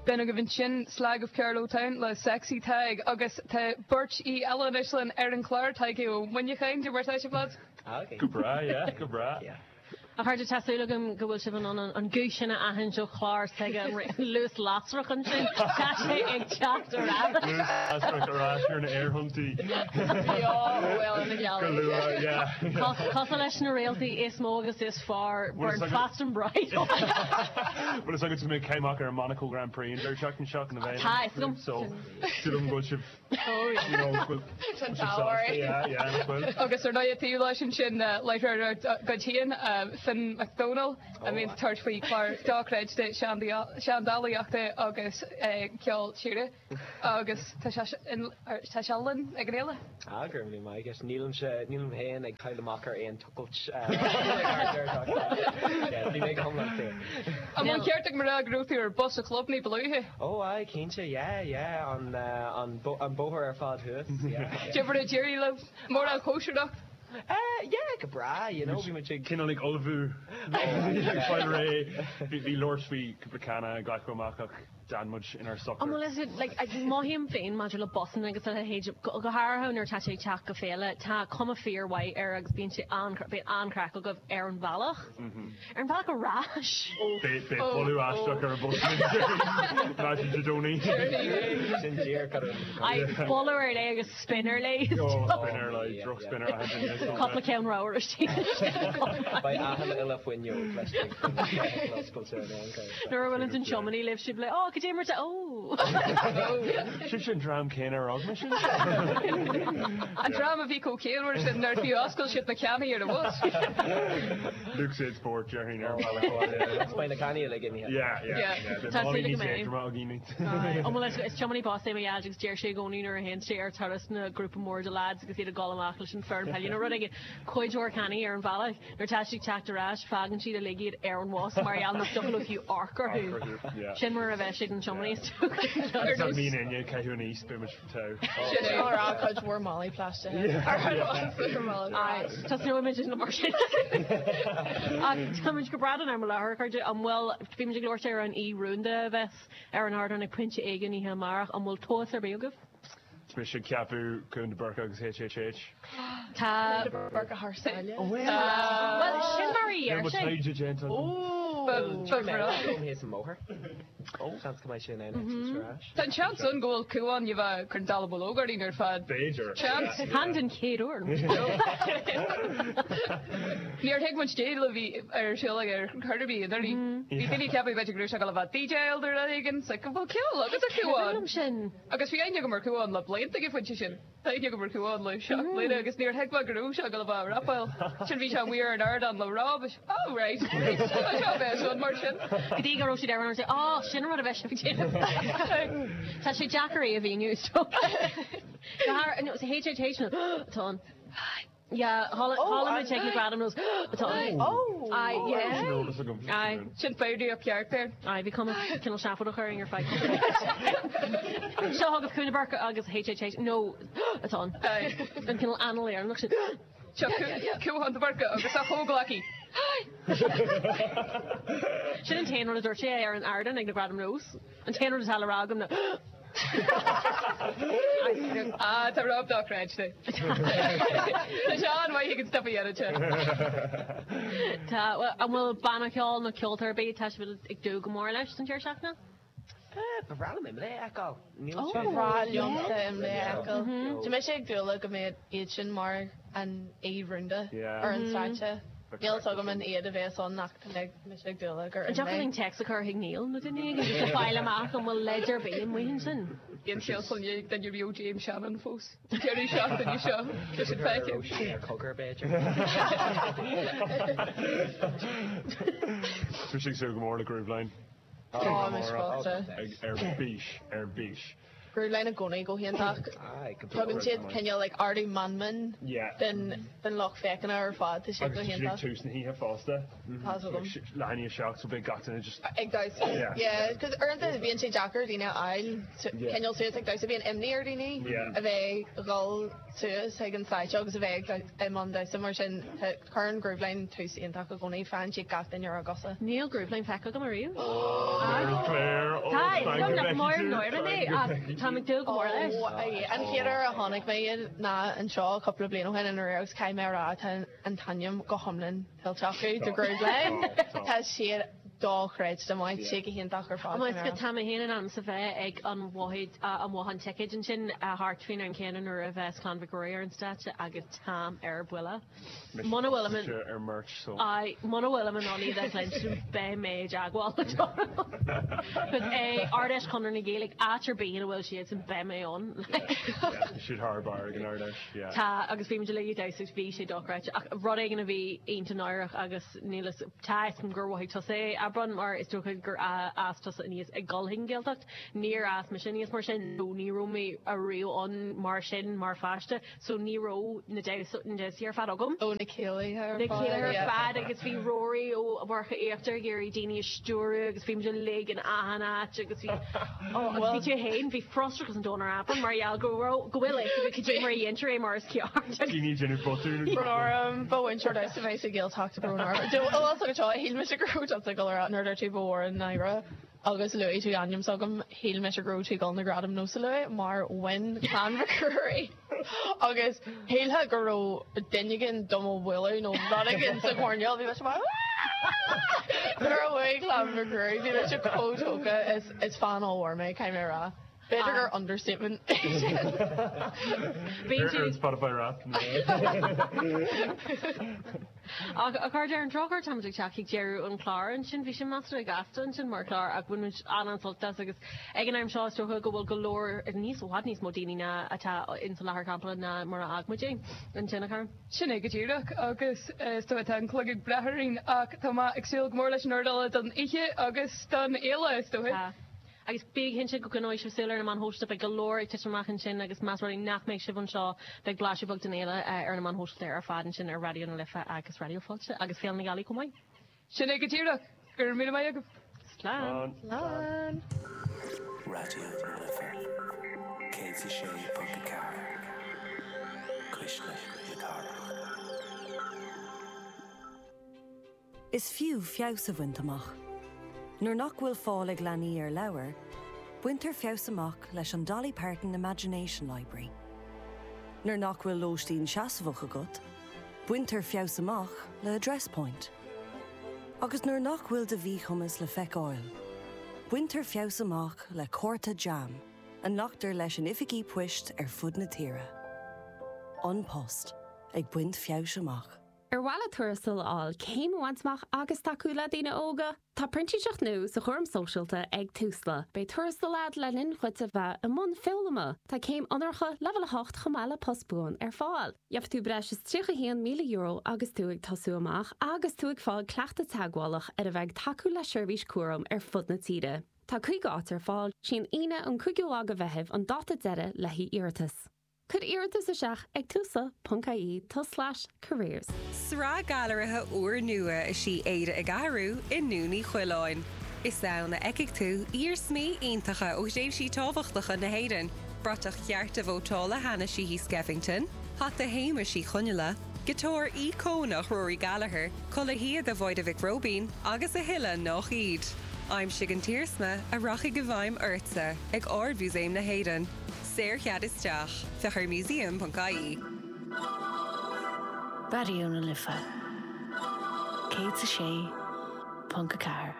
B'in agaibh ansin Slag of Carlow Town le Sexy Tadhg agus tá beirt aoi eile anois linn ar an chlár, Tadhg Ó Muineacháin, cad é mar tá sibh lads? Go breá, yeah, go breá. Yeah. A chairde, tá súil agam go bhfuil sibh in ann an guth sin a aithint ó chlár s'aige, an luas lasrach ansin. Tá sé ag teacht ar ais. Luas lasrach ar ais ar na aerthonntaí. Go luath, yeah. Cosúil leis na réaltaí is mó agus is fearr, burn fast and bright. Bhfuil fhios agat go mbeidh céim amach ar an Monaco Grand Prix an deireadh seachtaine seo na bheidh. Tá fhios agam. So, súil agam go bhfuil sibh you know, go bhfuil sibh sásta, yeah, yeah, nach bhfuil. Agus ar ndóigh taobh leis ansin láithreoir dá gcuid féin, Finn Mac Dónaill, a mbíonn ag tabhairt faoi chlár dochreidte seandálaíochta agus ceol tíre. Agus tá sé tá sé linn ag an fhéile. Ah, go raibh míle maith agat. Nílimse, nílim féin ag cailleadh amach ar aon tochailt. Bhí mé go hiomlán saor. An bhfuil an ceart agam a rá go raibh tú ar bus an chlub ní ba luaithe? Ó aye, cinnte, yeah, yeah, an, an, an bóthar ar fad thuas, yeah. Cad é mar a d'éirigh libh? Mórán cóisireacht? Eh, yeah, go breá, you know, bhí muid ag. Cineál ag ullmhú, ag fáil réidh. Bhí labhairt faoi cúpla canna a glacadh amach ach D'fhan muid inár socair. An bhfuil fhios agat, like, mothaím féin maidir le busanna agus a leithéid, go háirithe nuair atá sé ag teacht go féile, tá cuma fíor-mhaith air agus bíonn sé an, bíonn an-chraic agaibh ar an bhealach. Ar an bhealach ar ais! Beidh boladh aisteach ar an bhus maidin Dé Domhnaigh. Sin díreach ar an. Aye, boladh ar leith agus spin ar leith. Oh, spin ar leith, droch spin ar leith. Cúpla ceann ramhar istigh. Beidh achan uile fuinneog laistigh den feithicil oscailte in aon chor. Nuair a bhuaileann an tiománaí libh sibh le, oh, cad é mar tá, oh. Sibhse an dream céanna ar fhág mise. An dream a bhí chomh ciallmhar sin nár fiú oscail siad na cannaí ar an bhus. Lucozade Sport, déarfainn ar an bhealach abhaile. Beidh na cannaí uilig imithe. Yeah, yeah, yeah. Beidh málaí níos éadroime againn. An bhfuil is tiománaí bus é mo dhaid agus deir sé i gcónaí nuair a théann sé ar turas na grúpa mór de lads agus iad ag dul amach leis an foireann peile nó rud éigin, cuid mhór cannaí ar an bhealach. Nuair atá siad ag teacht ar ais, fágann siad uilig iad ar an bhus mar gheall nach dtiocfadh leo fiú amharc orthu. Sin mar a bheidh sé don tiománaí is dócha. Ar nós mín inne, caitheamh aníos, beidh muid togha. Sin é. Á rá cuid mhór málaí plaisteacha ar an bhus ar an mbealach ar ais. Tosnóidh muid mar sin. Ach táimid go breá don am i láthair, a chairde. An bhfuil, bhí muid ag labhairt ar an aoi rúnda a bheas ar an ardán ag pointe éigin oíche amárach, an bhfuil tomhas ar bith agaibh? Tá mise ag ceapadh Cuan de Búrca agus HHH. Tá. Cuan de Búrca thar sáile. Bhuel, sin mar a Níl dheir mo sé. taighde déanta agam. Ba bhreá. Dom thíos an mbóthar. Seans go mbeidh sé in ann eitilt ar ais. Tá an seans ann go bhfuil Cuan a bheith ag cur an dallamullóg orainn ar fad. B'fhéidir. Seans. Chan den chéad uair. Níor thuig muid cad é a bhí ar siúl aige ar chor ar bith anuraidh. Bhí daoine ag ceapadh b'fhéidir go raibh sé ag dul a bheith DJáil nó rud éigin. It's like, an bhfuil ceol agat a Chuan? Liom sin. Agus bhí aithne agam ar Chuan le blianta ag an phointe sin. Tá aithne agam ar Chuan le 7 mbliana agus níor thuig mé go raibh sé ag dul a bheith ag rapáil. Sin bhí sé amuigh ar an ardán le Rob. Oh right, right, tá seo a bheith ann mar sin. Go dtí go raibh siad ar an ardán, oh sin an rud a bheidh sibh ag déanamh. Tá sé deacair é a mhíniú is dócha. Go háirithe, no, HHH nó atá ann. Yeah, chuala muid ag na Gradaim Nós atá ann. Aye, yeah. Sin eolas agam. Aye. Sin foghraíocht cheart air. Aye, bhí cuma cineál seafóideach orainn ar feadh. Seo chugaibh Cuan de Búrca agus HHH nó atá ann. Aye. An cineál anáil Éireannach sin. Seo Cuan de Búrca agus a chomhghleacaí. Sin an t-aon rud a dúirt sé ar an ardán ag na Gradaim Nós. An t-aon rud atá le rá agam ná Ah, tá Rob dochreidte. Tá sé an-mhaith ag an stuif a dhéanann sé. Tá, an bhfuil banna ceoil nó ceoltóir ar bith atá sibh ag dúil go mór leis don deireadh seachtaine? Ba bhreá liom Imlé a fheiceáil. Níl Ba sé. bhreá liomsa Imlé a fheiceáil. Tá mise ag dúil le go mbeidh iad sin mar an aoi rúnda ar an stáitse. Níl fhios agam an iad a bheas ann ach tá mise ag dúil le gur An dtiocfadh linn téacs a chur chuig Neil nó duine éigin just le fáil amach an bhfuil leid ar bith amuigh ansin? Bhí an scéal chun ag duine Rio James Shannon fós. Deireadh seachtaine seo. Tá siad feicthe. Sé ar cogar b'fhéidir. Tá mise ag súil go mór le Grooveline. Tá mise fosta. Ar bís, ar bís. Grooveline i gcónaí go hiontach. Tugann siad cineál like ardú meanman den den lucht féachana ar fad. Tá siad go Agus tá siad ag hiontach. tús na hoíche fosta. Tá fhios agam. Leath i ndiaidh 7 so beidh gach duine just. Ag damhsa. Yeah. Yeah, 'cause uaireanta bíonn sé deacair daoine a fháil cineál suas ag damhsa. Bíonn imní ar dhaoine a bheith ag dhul suas chuig an stáitse agus a bheith ag i mbun damhsa mar sin cuireann Grooveline tús iontach i gcónaí. Faigheann siad gach duine ar a gcosa. Níl Grooveline feicthe agam ariamh. Claire, oh, thank God. Dom nach mór náire mé ach táim ag dúil go mór leis. Ó, an chéad uair a chonaic mé iad ná anseo cúpla bliain ó shin i nDoire agus caithfidh mé a rá tá an t-ainm go hiomlán tuillte acu do Grooveline. Tá siad dochreidte maith, siad go hiontach ar fad. Agus go tá mé féin in ainm is a bheith ag an bhothán ticéid ansin thart faoin am céanna nuair a bheas Clann Mhic Ruairí ar an stáitse agus táim ar buile. Muna bhfuilim in ar merch so. Aye, muna bhfuilim in ann iad a chluinstin beidh mé i dteagmháil le Donal. Cos é Ard-Fheis Chonradh na Gaeilge áit ar bith ina bhfuil siadsan beidh mé ann. Yeah, siad thar barr ag an Ard-Fheis, yeah. Tá, agus bhí muid uilig ag damhsa agus bhí sé dochreidte ach rud éigin a bhí iontach náireach agus níl fhios, tá fhios agam gur mhothaigh tusa é, Aibreán, mar is dócha gur fhás tusa aníos ag dul chuig an Ghaeltacht. Níor fhás mise aníos mar sin nó ní raibh mé ariamh ann mar sin mar pháiste. So ní raibh na damhsaí ar fad agam. Ó na céilithe ar fad. Na céilithe ar fad agus bhí Rory ó Mhurcha Íochtar ag iarraidh daoine a stiúradh agus bhí muid uilig in achan áit agus bhí ó agus bhí tú fhéin, bhí frustrachas an domhain ar Aibreán mar gheall go raibh, go bhfuil fhios agat cad é mar a dhéantar é mar is ceart. Daoine ag déanamh botún. Brón orm, ba mhúinteoir damhsa mé sa Ghaeltacht brón orm. Bhfuil fhios agat seo, shíl mise go raibh tusa ag dul a rá nuair a dúirt tú ba mhór an náire. Agus luaigh tú ainm s'agam, shíl mise go raibh tú ag dul na gradaim NÓS a lua mar bhain Clann Mhic Ruairí agus shílfeá go raibh duine éigin do mo bhualadh nó rud éigin sa choirnéal, bhí mise mar Nuair a bhuaigh Clann Mhic Ruairí bhí mise chomh tógtha, is fan ollmhór mé, caithfidh mé a rá. B'fhéidir gur understatement é sin. Ar an Spotify Wrapped. Ach a chairde, ar an drochuair táimid ag teacht chuig deireadh an chláir ansin. Bhí sé measartha gasta ansin mar chlár ach bhain muid an-an-sult as agus ag an am seo is dócha go bhfuil go leor, níos, i bhfad níos mó daoine ná atá ins an láthair campála ná mar a fhág muid é ansin, a chara. Sin é go díreach agus is dóigh tá an clog ag breith orainn ach tá mé ag súil go mór leis an uair eile don oíche agus don fhéile is dóigh. Tá. Agus bí cinnte go gcoinneoidh sibh súil ar na meáin shóisialta, beidh go leor ag titim amach ansin agus más rud é nach mbeidh sibh anseo, beidh blaiseadh beag den fhéile ar na meáin shóisialta ar fad ansin ar Raidió na Life agus Raidió Fáilte agus Féile na Gealaí chomh maith. Sin é go díreach. Go raibh míle maith agaibh. Slán. Slán. Raidió na Life 106.4, Cuisle na Cathrach. Is fiú feabhas a bhaint amach. Nuair nach bhfuil fáil ag leanaí ar leabhair, baintear feabhas amach leis an Dolly Parton Imagination Library. Nuair nach bhfuil lóistín seasmhach agat, baintear feabhas amach le Address Point. Agus nuair nach bhfuil do mhíchumas le feiceáil, baintear feabhas amach le cárta JAM a nglactar leis in oifigí poist ar fud na tíre. An Post, ag baint feabhais amach. Ar mhaith leat tuarastal a fháil, céim a bhaint amach agus tacú le daoine óga? Tá printíseacht nua sa chúram sóisialta ag Tusla. Beidh tuarastal agat le linn dhuit a bheith i mbun foghlama. Tá céim onóracha Leibhéal 8 chomh maith le post buan ar fáil. Gheobhaidh tú breis is €31,000 agus tú ag tosú amach agus tú ag fáil cleachtadh teagmhálach ar a bheith ag tacú le seirbhís cúraim ar fud na tíre. Tá 50 áit ar fáil. Sí an Aoine an 5ú lá de Mheitheamh an dáta deiridh le haghaidh iarratas. Cuir iarratas isteach ag tusla.ie tulslais careers. Sraith gailearaithe úrnua is í Éire ag Athrú i nDún Uí Choileáin. Is ann a fheicfidh tú iarsmaí iontacha ó thréimhsí tábhachtacha na hÉireann, bratach chearta vótála Hanna Sheehy Skeffington, hata Shéamais Uí Chonghaile, giotár íocónach Rory Gallagher, culaith shíoda Mháire Mhic Róibín agus a thuilleadh nach iad. Aimsigh an t-iarsma a rachaidh i bhfeidhm ortsa ag Ard-Mhúsaem na hÉireann. Saorchead isteach. Féach ar museum.ie. Raidió na Life 106.4.